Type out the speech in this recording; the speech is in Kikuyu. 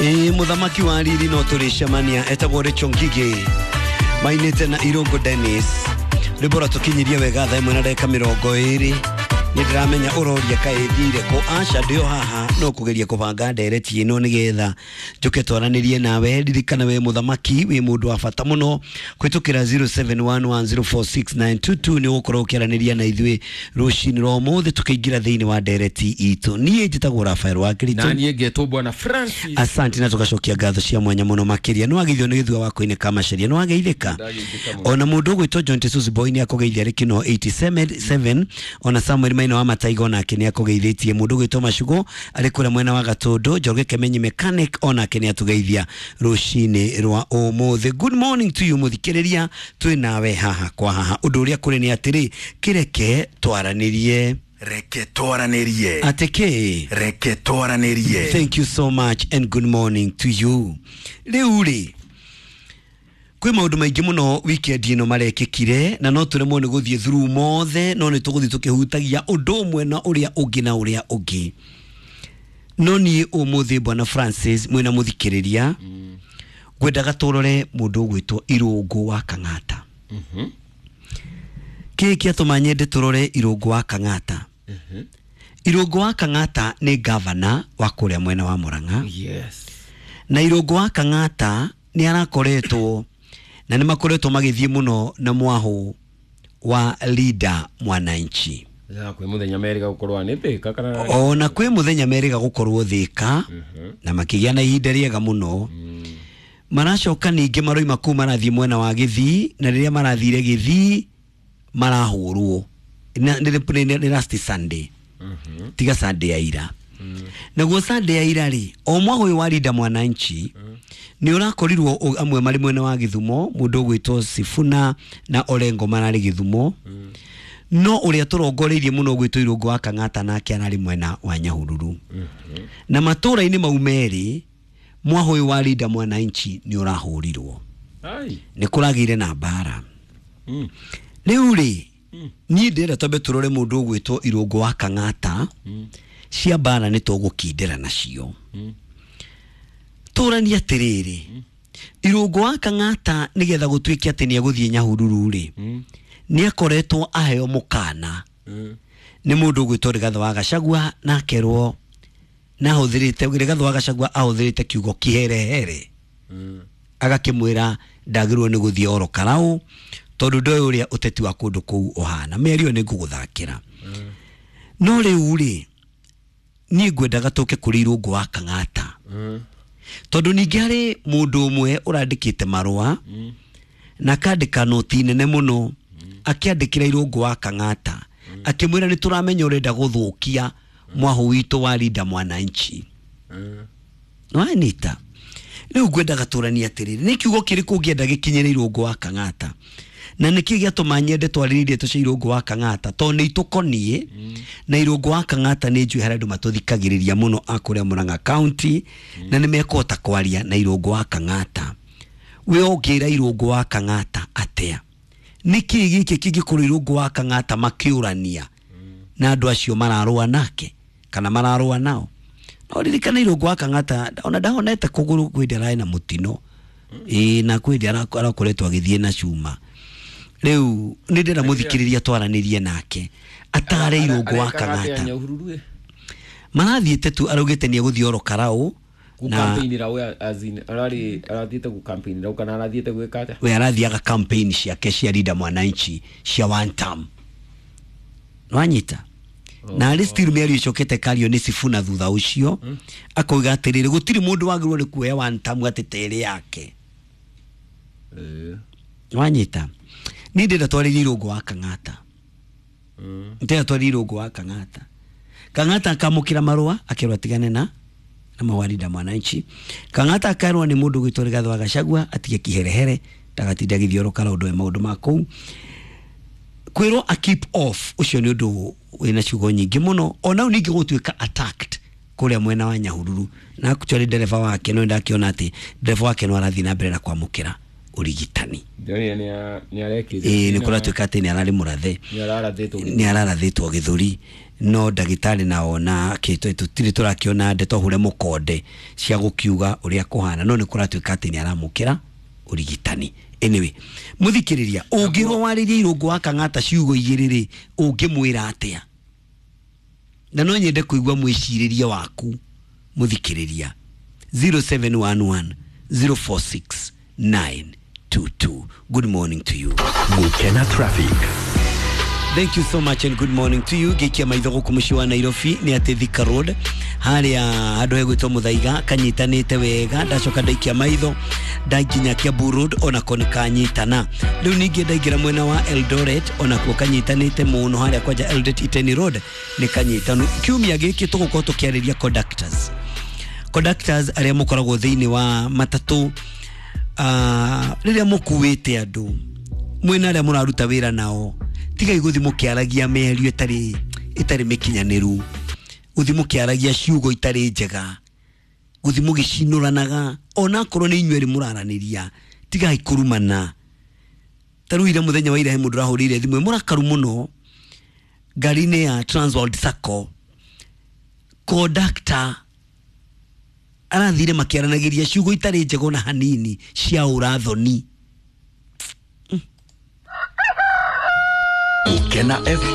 Ĩĩ, mũthamaki wa riri no tũrĩcemania, etagwo Rachel Ngigĩ, mainĩte na Irũngũ Dennis. Rwĩmbo rwatũkinyirie wega 1:20. Nĩ ndĩramenya ũroria kaĩ thire kũ. Aca, ndĩo haha, no kũgeria kũbanga ndereti ĩno nĩgetha njũke twaranĩrie nawe. Ririkana we mũthamaki wĩ mũndũ wa bata mũno. Kũhĩtũkĩra 0711046922 nĩ ũgũkorwo ũkĩaranĩria na ithuĩ rũcinĩ rwa ũmũthĩ tũkĩingĩra thĩinĩ wa ndereti itũ. Niĩ njĩtagwo Rafael wa Na Kĩritũ. niĩ ngetwo Bwana Francis. Asante, na tugacokia ngatho cia mwanya mũno makĩria. Nĩ wageithio nĩ gĩthua wa koine ka macaria, nĩ wageithĩka. Ndageithĩka mũno. Ona mũndũ ũgwĩtwo John Jesus Boy nĩ akũgeithia arĩ kĩno 87. Ona Samuel Maina wa Mataigo nake nĩ akũgeithĩtie. Mũndũ ũgwĩtwo Macugo arĩ kũrĩa mwena wa Gatũndũ. Njoroge Kemenyi Mechanic onake nĩ atũgeithia rũcinĩ rwa ũmũthĩ. Good morning to you, mũthikĩrĩria, twĩ nawe haha kwa haha. Ũndũ ũrĩa kũrĩ nĩ atĩrĩ, kĩreke twaranĩrie. Reke twaranĩrie. Atĩ kĩ? Reke twaranĩrie. Thank you so much and good morning to you. Rĩu rĩ, kwĩ maũndũ maingĩ mũno weekend ĩno marekĩkire, na no tũremwo nĩ gũthiĩ through mothe, no nĩ tũgũthiĩ tũkĩhutagia ũndũ ũmwe na ũrĩa ũngĩ na ũrĩa ũngĩ. No niĩ ũmũthĩ, Bwana Francis mwĩna mũthikĩrĩria, ngwendaga tũrore mũndũ ũgwĩtwo Irũngũ wa Kang'ata. Kĩĩ kĩatũma nyende tũrore Irũngũ wa Kang'ata? Irũngũ wa Kang'ata nĩ gavana wa kũrĩa mwena wa Murang'a. Na Irũngũ wa Kang'ata nĩ arakoretwo na nĩ makoretwo magĩthiĩ mũno na mwahũ wa Linda Mwananchi. Ya kwĩ mũthenya merĩga gũkorwo nĩ Thĩka kana? Ona kwĩ mũthenya merĩga gũkorwo Thĩka na makĩgĩa na ihinda rĩega mũno. Maracoka ningĩ maroima kũu, marathiĩ mwena wa Gĩthii, na rĩrĩa marathire Gĩthii marahũrwo. Nĩ last Sunday, tiga Sunday ya ira. Naguo Sunday ya ira rĩ, o mwaka ũyũ wa Linda Mwananchi nĩ ũrakorirwo amwe marĩ mwena wa Gĩthumo. Mũndũ ũgwĩtwo Sifuna na Orengo mararĩ Gĩthumo, no ũrĩa tũrongoreirie mũno ũgwĩtwo Irũngũ wa Kang'ata nake ararĩ mwena wa Nyahururu. Na matũũra-inĩ mau merĩ mwahũ ũyũ wa Linda Mwananchi nĩ ũrahũrirwo. Ai. Nĩ kũragĩire na mbara. Rĩu rĩ, niĩ ndĩrenda twambe tũrore mũndũ ũgwĩtwo Irũngũ wa Kang'ata. Cia mbara nĩ tũgũkindĩra nacio. Tũranie atĩrĩrĩ, Irũngũ wa Kang'ata nĩgetha gũtuĩke atĩ nĩ egũthiĩ Nyahururu rĩ, nĩ akoretwo aheo mũkana nĩ mũndũ ũgwĩtwo Rigathĩ wa Gachagua, na akerwo na ahũthĩrĩte, Rigathĩ wa Gachagua ahũthĩrĩte kiugo kiherehere, agakĩmwĩra ndagĩrĩirwo nĩ gũthiĩ oro karau tondũ ndoĩ ũrĩa ũteti wa kũndũ kũu ũhana. Mĩario nĩ ngũgũthakĩra, no rĩu rĩ, niĩ ngwendaga tũke kũrĩ Irũngũ wa Kang'ata, tondũ ningĩ harĩ mũndũ ũmwe ũrandĩkĩte marũa na akandĩka noti nene mũno akĩandĩkĩra Irũngũ wa Kang'ata akĩmwĩra nĩ tũramenya ũrenda gũthũkia mwahũ witũ wa Linda Mwananchi. Nĩwanyita? Rĩu ngwendaga tũranie atĩrĩrĩ, nĩ kiugo kĩrĩkũ ũngĩenda gĩkinyĩre Irũngũ wa Kang'ata, na nĩkĩ gĩatũma nyende twarĩrĩrie ndeto cia Irũngũ wa Kang'ata? Tondũ nĩ itũkoniĩ na Irũngũ wa Kang'ata nĩ njũĩ harĩa andũ matũthikagĩrĩria mũno a kũrĩa Murang'a County, na nĩ mekũhota kwaria na Irũngũ wa Kang'ata. We ũngĩra Irũngũ wa Kang'ata atĩa? Nĩkĩ gĩkĩ kĩngĩkorwo Irũngũ wa Kang'ata makĩũrania na andũ acio mararũa nake kana mararũa nao? No ririkana Irũngũ wa Kang'ata ona ndahonete kũgũrũ, kwĩ hĩndĩ ararĩ na mũtino. Ĩĩ, na kwĩ hĩndĩ arakoretwo agĩthiĩ na cuma. Rĩu nĩ ndĩrenda mũthikĩrĩria twaranĩrie nake atare Irũngũ wa Kang'ata. Nyahururu ĩ? Marathiĩte tu, araugĩte nĩ egũthiĩ oro karau na Gũcampaignĩra we, as in ararĩ arathiĩte gũcampaignĩra kana arathiĩte gwĩka atĩa? We arathiaga campaign ciake cia Linda Mwananchi cia one term, nwanyita? Na arĩ still mĩario ĩcokete kario nĩ Sifuna thutha ũcio, akauga atĩrĩrĩ, gũtirĩ mũndũ wagĩrĩirwo nĩ kuoya one term atĩ terĩ yake. Nwanyita? Niĩ ndĩrenda twarĩrie Irũngũ wa Kang'ata. Ndĩrenda twarĩrie Irũngũ wa Kang'ata. Kang'ata akamũkĩra marũa akerwo atigane na mawarinda Mwananchi. Kang'ata akerwo nĩ mũndũ ũgwĩtwo Rigathĩ wa Gachagua atige kiherehere, ndagatinda agĩthiĩ oro karau, ndoe maũndũ ma kũu. Kwĩrwo a keep off, ũcio nĩ ũndũ wĩna ciugo nyingĩ mũno. Ona rĩu ningĩ gũtuĩka attacked kũrĩa mwena wa Nyahururu, na actually ndereba wake, no ndakĩona atĩ ndereba wake no arathiĩ na mbere na kwamũkĩra Ũrigitani. Ndĩronire nĩ arekire. Ĩĩ, nĩ kũratuĩka atĩ nĩ ararĩ mũrathe. Nĩ ararathĩtwo. Nĩ ararathĩtwo gĩthũri, no ndagĩtarĩ naona tũtirĩ tũrakĩona ndeto hure mũkonde cia gũkiuga ũrĩa kũhana, no nĩ kũratuĩka atĩ nĩ aramũkĩra ũrigitani. Anyway, mũthikĩrĩria, ũngĩrwo warĩrie Irũngũ wa Kang'ata ciugo igĩrĩ rĩ, ũngĩmwĩra atĩa? Na no nyende kũigua mwĩcirĩrie waku, mũthikĩrĩria. 0711 046 922. Good morning to you. Gukena traffic. Thank you so much and good morning to you. Ngĩikia maitho gũkũ mũciĩ wa Nairobi nĩ atĩ Thika Road harĩa handũ hegwĩtwo Mũthaiga kanyitanĩte wega. Ndacoka ndaikia maitho ndakinya Kiambu Road, onako nĩ kanyitana. Rĩu ningĩ ndaingĩra mwena wa Eldoret, onakuo kanyitanĩte mũno, harĩa kwanja Eldoret Iten Road nĩ kanyitanu. Kiumia gĩkĩ tũgũkorwo tũkĩarĩria conductors arĩa mũkoragwo thĩinĩ wa matatũ, rĩrĩa mũkuĩte andũ mwĩna arĩa mũraruta wĩra nao, tigai gũthiĩ mũkĩaragia mĩario ĩtarĩ mĩkinyanĩru, gũthiĩ mũkĩaragia ciugo itarĩ njega, gũthiĩ mũgĩcinũranaga onakorwo nĩ inyuĩ erĩ mũraranĩria. Tigai kũrumana. Ta rĩu ira, mũthenya wa ira, he mũndũ ũrahũrĩire thimũ ĩ mũrakaru mũno ngari-inĩ ya Transworld Sacco. Conductor arathire makĩaranagĩria ciugo itarĩ njega ona hanini, cia ũrathoni. Gukena FM.